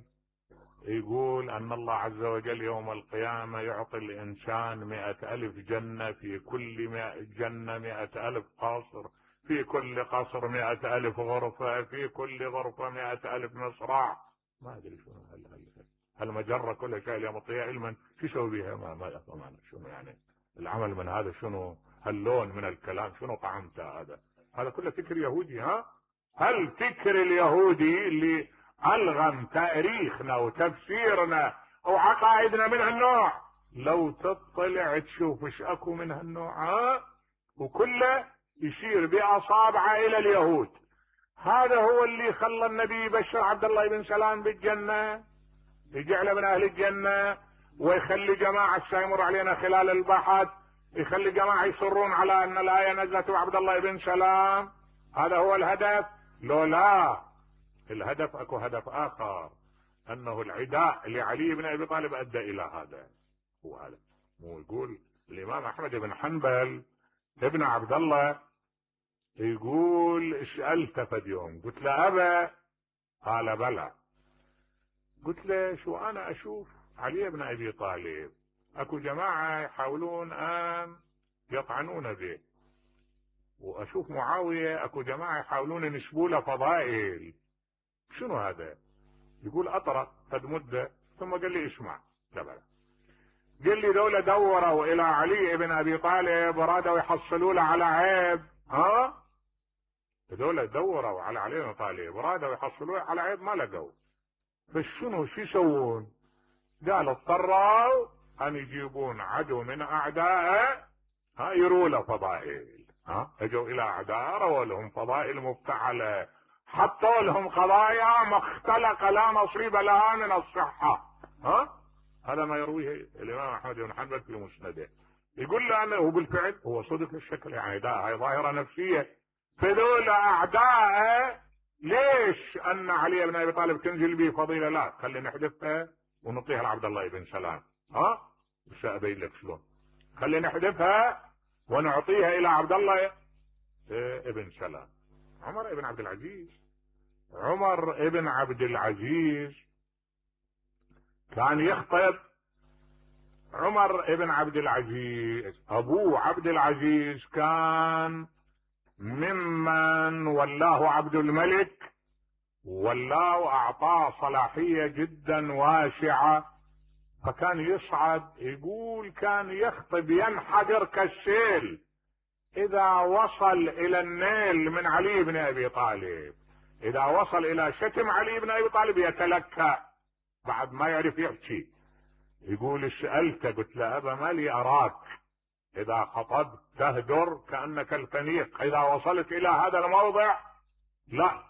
يقول ان الله عز وجل يوم القيامة يعطي الانسان مئة الف جنة، في كل مئة جنة مئة الف قصر، في كل قصر مئة الف غرفة، في كل غرفة مئة الف مصراع، ما ادري شنو هل هل هالمجرة كلها شيء يعطيها علما شو يسوي بها؟ ما ما افهم شنو يعني العمل من هذا، شنو هاللون من الكلام، شنو طعمته هذا؟ هذا كله فكر يهودي. ها هل فكر اليهودي اللي ألغم تاريخنا وتفسيرنا وعقائدنا من هالنوع، لو تطلع تشوف ايش اكو من هالنوع، ها وكله يشير باصابعه الى اليهود. هذا هو اللي خلى النبي يبشر عبد الله بن سلام بالجنة، يجعله من اهل الجنة، ويخلي جماعة سيمر علينا خلال البحث يخلي جماعة يصرون على ان الآية نزلت وعبد الله بن سلام. هذا هو الهدف؟ لو لا، الهدف اكو هدف اخر، انه العداء لعلي بن ابي طالب ادى الى هذا. هو هذا مو يقول الامام احمد بن حنبل ابن عبد الله يقول سألته فد يوم قلت له ابا، قال بلى. قلت له شو انا اشوف علي بن ابي طالب اكو جماعة يحاولون ان يطعنون به، واشوف معاوية اكو جماعة يحاولون ينسبوا له فضائل، شنو هذا؟ يقول اطرق قد مدة ثم قال لي اسمع. لا بلا، قال لي دولة دوروا الى علي بن ابي طالب ورادوا يحصلوا له على عيب. ها دولة دوروا على علي بن ابي طالب ورادوا يحصلوا له على عيب ما لقوا، بس شنو شو يسوون؟ قال اضطروا ان يجيبون عدو من اعدائه، ها يروا له فضائل. ها اجوا الى اعداء رووا لهم فضائل مفتعلة، حطوا لهم قضايا ما اختلق لا نصيب لها من الصحة. ها هذا ما يرويه الامام احمد بن حنبل في مسنده. يقول له انه بالفعل هو صدق الشكل، يعني ده هاي ظاهرة نفسية. فذول اعدائه ليش ان علي بن ابي طالب تنزل به فضيلة؟ لا خلي نحذفها ونعطيها لعبد الله بن سلام. ها بس ابين لك شلون. خلي نحذفها ونعطيها الى عبد الله ابن سلام. عمر ابن عبد العزيز عمر ابن عبد العزيز كان يخطب. عمر ابن عبد العزيز ابوه عبد العزيز كان ممن ولاه عبد الملك، ولاه واعطاه صلاحية جدا واسعة، فكان يصعد. يقول كان يخطب ينحدر كالسيل اذا وصل الى النيل من علي بن ابي طالب، اذا وصل الى شتم علي بن ابي طالب يتلكأ بعد ما يعرف يحكي. يقول سألته قلت له ابا ما لي اراك اذا خطبت تهدر كأنك الفنيق، اذا وصلت الى هذا الموضع لا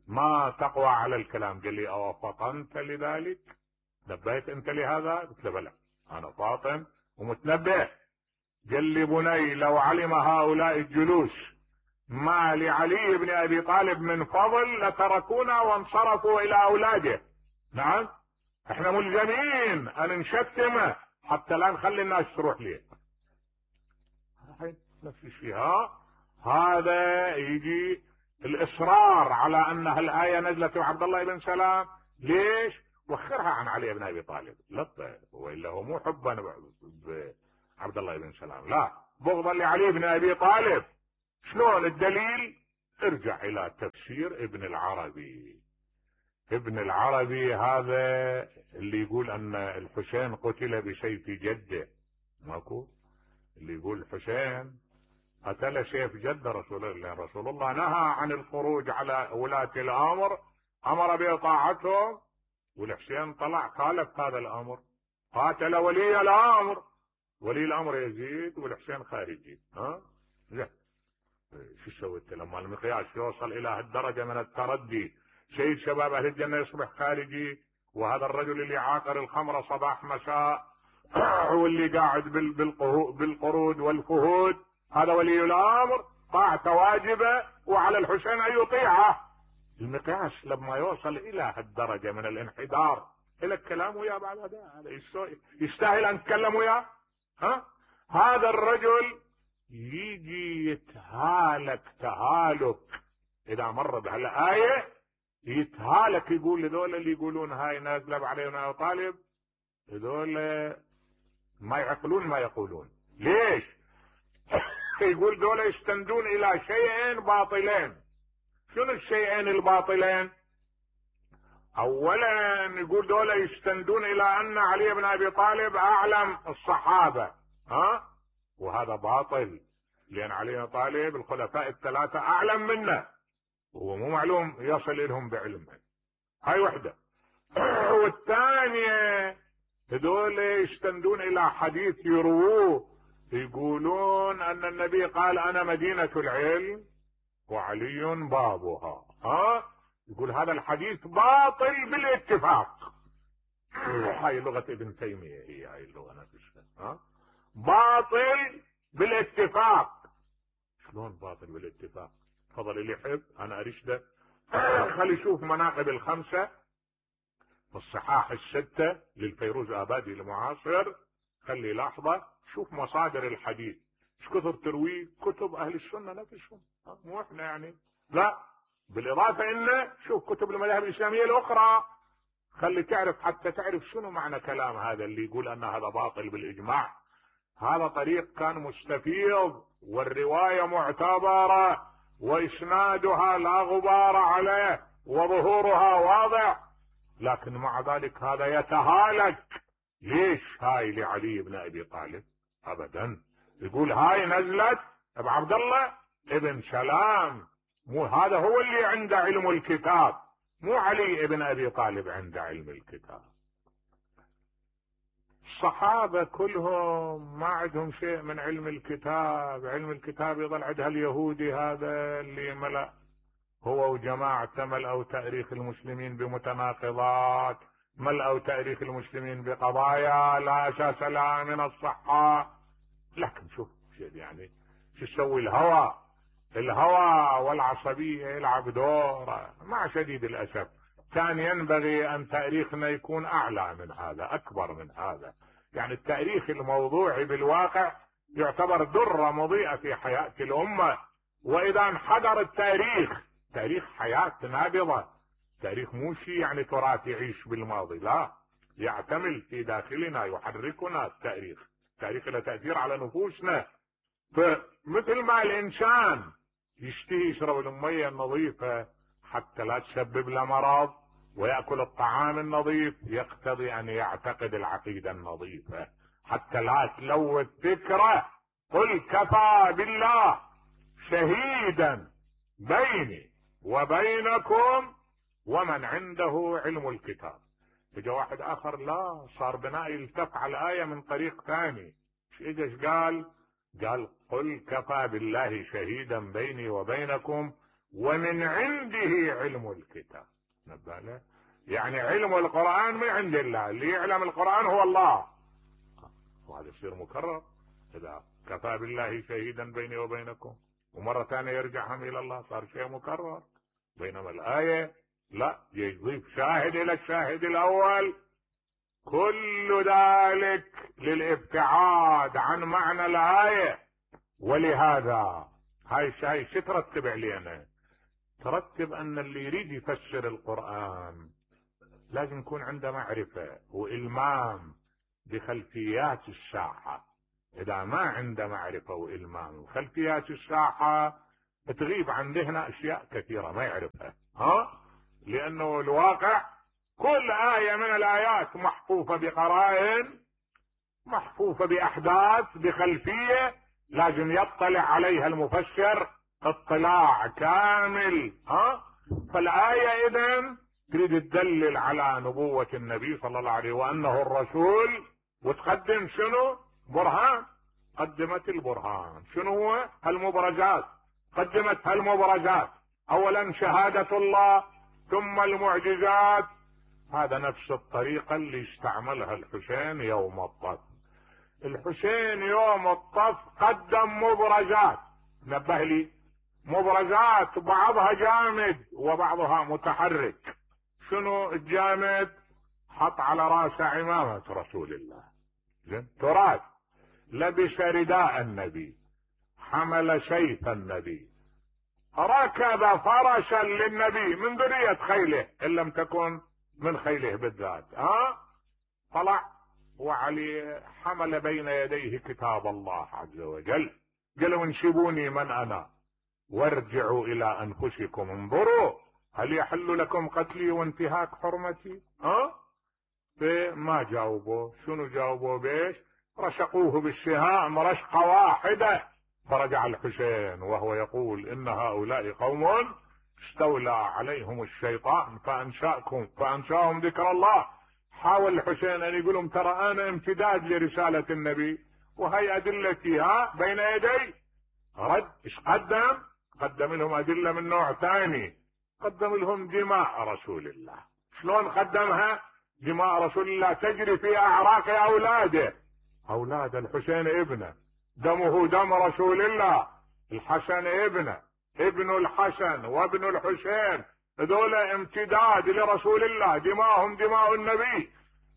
ما تقوى على الكلام. قال لي او فطنت لذلك؟ نبهت انت لهذا؟ قلت له بلى انا فاطن ومتنبه. قال لي بني لو علم هؤلاء الجلوس ما لعلي بن ابي طالب من فضل لتركونا وانصرفوا الى اولاده. نعم احنا ملزمين ان نشتمه حتى لا نخلي الناس تروح ليه. نفس الشيء. ها هذا يجي الاصرار على ان هالايه نزلت وعبد الله بن سلام. ليش؟ وخرها عن علي بن ابي طالب، لا والا هو مو حبا بعبد الله بن سلام، لا بغضا لعلي بن ابي طالب. شلون الدليل؟ ارجع الى تفسير ابن العربي. ابن العربي هذا اللي يقول ان الحسين قتل بسيف جده، ماكو اللي يقول الحسين قتل سيف جد رسول الله. رسول الله نهى عن الخروج على ولاة الامر، امر بطاعتهم، والحسين طلع خالف هذا الامر، قاتل ولي الامر، ولي الامر يزيد والحسين خارجي. ها زين شو سويت لما المقياس يوصل الى هالدرجة من التردي؟ سيد شباب اهل الجنة يصبح خارجي، وهذا الرجل اللي عاقر الخمر صباح مساء واللي قاعد بالقرود والفهود هذا ولي الامر، طاعته واجبة وعلى الحسين ان يطيعه. المقياس لما يوصل الى هالدرجة من الانحدار الى الكلام وياه بعد هذا يستاهل ان نتكلم وياه؟ ها هذا الرجل يجي يتهالك تهالك اذا مر بهالآية، يتهالك يقول لذول اللي يقولون هاي نازله علينا ابي طالب، هذول ما يعقلون ما يقولون. ليش؟ يقول دول يستندون الى شيئين باطلين. شنو الشيئين الباطلين؟ اولا يقول دول يستندون الى ان علي بن ابي طالب اعلم الصحابه، ها وهذا باطل، لان علي بن ابي طالب الخلفاء الثلاثه اعلم منه، هو مو معلوم يصل لهم بعلمه. هاي وحده. والثانيه هذول يستندون الى حديث يرووه، يقولون ان النبي قال انا مدينة العلم وعلي بابها، ها يقول هذا الحديث باطل بالاتفاق. هاي لغة ابن تيمية، هي هاي اللغة نفسها، ها باطل بالاتفاق. شلون باطل بالاتفاق؟ تفضل اللي يحب انا ارشده خلي يشوف مناقب الخمسة في الصحاح الستة للفيروز آبادي المعاصر، خلي لحظة شوف مصادر الحديث ايش كثر ترويه كتب اهل السنة نفسهم، مو احنا يعني، لا بالاضافة انه شوف كتب المذاهب الاسلامية الاخرى، خلي تعرف حتى تعرف شنو معنى كلام هذا اللي يقول ان هذا باطل بالاجماع. هذا طريق كان مستفيض والرواية معتبرة واسنادها لا غبار عليه وظهورها واضح، لكن مع ذلك هذا يتهالك. ليش؟ هاي لعلي بن ابي طالب ابدا، يقول هاي نزلت ابو عبد الله ابن سلام، مو هذا هو اللي عنده علم الكتاب، مو علي ابن ابي طالب عنده علم الكتاب. الصحابة كلهم ما عندهم شيء من علم الكتاب، علم الكتاب يظل عندها اليهودي هذا اللي ملأ هو وجماعة ملأوا تاريخ المسلمين بمتناقضات، ملأوا تاريخ المسلمين بقضايا لا اساس لها من الصحة. لكن شوف يعني شو يسوي الهوى، الهوى والعصبية يلعب دور مع شديد الاسف. كان ينبغي ان تاريخنا يكون اعلى من هذا، اكبر من هذا، يعني التاريخ الموضوعي بالواقع يعتبر درة مضيئة في حياة الامة. واذا انحدر التاريخ، تاريخ حياة نابضة، تاريخ مو شيء يعني تراث يعيش بالماضي، لا يعتمل في داخلنا يحركنا التاريخ، التاريخ له تأثير على نفوسنا. فمثل ما الانسان يشتهي يشرب المية النظيفة حتى لا تسبب له مرض ويأكل الطعام النظيف، يقتضي ان يعتقد العقيدة النظيفة حتى لا تلوث فكره. قل كفى بالله شهيدا بيني وبينكم ومن عنده علم الكتاب. اجا واحد اخر لا صار بناء يلتف على الآية من طريق ثاني، ايش ايش قال؟ قال قل كفى بالله شهيدا بيني وبينكم ومن عنده علم الكتاب. نباله يعني علم القرآن من عند الله، اللي يعلم القرآن هو الله، وهذا يصير مكرر اذا كفى بالله شهيدا بيني وبينكم، ومرة ثانية يرجع هم الى الله، صار شيء مكرر. بينما الآية لا يضيف شاهد الى الشاهد الاول، كل ذلك للابتعاد عن معنى الآية. ولهذا هاي الشيء شو ترتب علينا؟ ترتب ان اللي يريد يفسر القرآن لازم يكون عنده معرفة وإلمام بخلفيات الساحة. اذا ما عنده معرفة وإلمام بخلفيات الساحة تغيب عن ذهنه اشياء كثيرة ما يعرفها، ها لانه الواقع كل آية من الآيات محفوفة بقرائن، محفوفة بأحداث بخلفية لازم يطلع عليها المفسر اطلاع كامل، ها فالآية اذن تريد تدلل على نبوة النبي صلى الله عليه وانه الرسول، وتقدم شنو؟ برهان. قدمت البرهان، شنو هو؟ المبرزات، قدمت المبرزات، اولا شهادة الله ثم المعجزات. هذا نفس الطريقة اللي استعملها الحسين يوم الطف. الحسين يوم الطف قدم مبرزات، نبه لي، مبرزات بعضها جامد وبعضها متحرك. شنو الجامد؟ حط على راسه عمامة رسول الله، زين تراث. لبس رداء النبي، حمل سيف النبي، ركب فرسا للنبي من ذرية خيله ان لم تكن من خيله بالذات. ها طلع وعلي حمل بين يديه كتاب الله عز وجل، قالوا انشبوني من انا وارجعوا الى انفسكم انظروا هل يحل لكم قتلي وانتهاك حرمتي؟ ها فما جاوبوا. شنو جاوبوا بيش؟ رشقوه بالسهام رشقة واحدة، فرجع الحسين وهو يقول ان هؤلاء قوم استولى عليهم الشيطان فانشاكم فانشاهم ذكر الله. حاول الحسين ان يقولهم ترى انا امتداد لرسالة النبي وهي ادلتي ها بين يدي. رد ايش قدم؟ قدم لهم ادلة من نوع ثاني، قدم لهم دماء رسول الله. شلون قدمها؟ دماء رسول الله تجري في اعراق اولاده، اولاد الحسين ابنه، دمه دم رسول الله، الحسن ابنه، ابن الحسن وابن الحسين، هذول امتداد لرسول الله، دماءهم دماء النبي.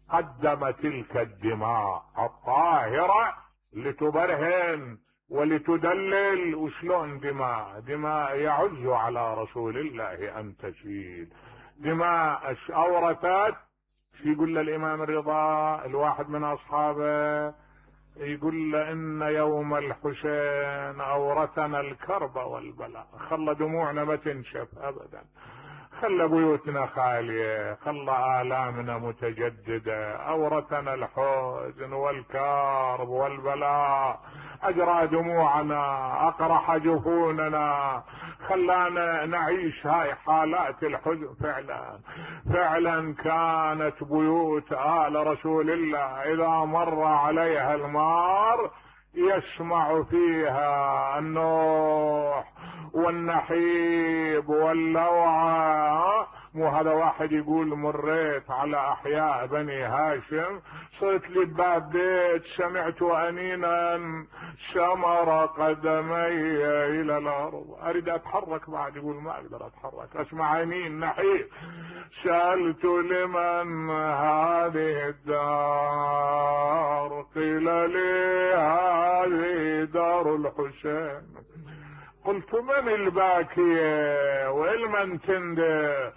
قدم تلك الدماء الطاهرة لتبرهن ولتدلل. وشلون دماء؟ دماء يعز على رسول الله ان تسيل، دماء اورثت. يقول الامام الرضا الواحد من اصحابه، يقول له ان يوم الحسين اورثنا الكرب والبلاء، خلى دموعنا ما تنشف ابدا، خلى بيوتنا خالية، خلى آلامنا متجددة، أورثنا الحزن والكرب والبلاء، أجرى دموعنا، أقرح جفوننا، خلانا نعيش هاي حالات الحزن. فعلا فعلا كانت بيوت آل رسول الله إذا مر عليها المار يسمع فيها النوح والنحيب واللوعة. مو هذا واحد يقول مريت على احياء بني هاشم، صرت لي بباب بيت سمعت انينا شمر قدمي الى الارض، اريد اتحرك بعد، يقول ما اقدر اتحرك، اسمع انين نحيب. سألت لمن هذه الدار، قيل لي هذه دار الحسين. قلت من الباكية والمن تندى؟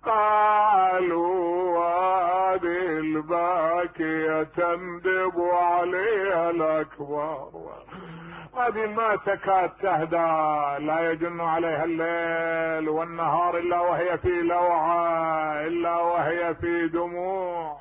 قالوا هذه الباكية تندب عليها الأكبر، هذه ما تكاد تهدى، لا يجن عليها الليل والنهار إلا وهي في لوعة، إلا وهي في دموع.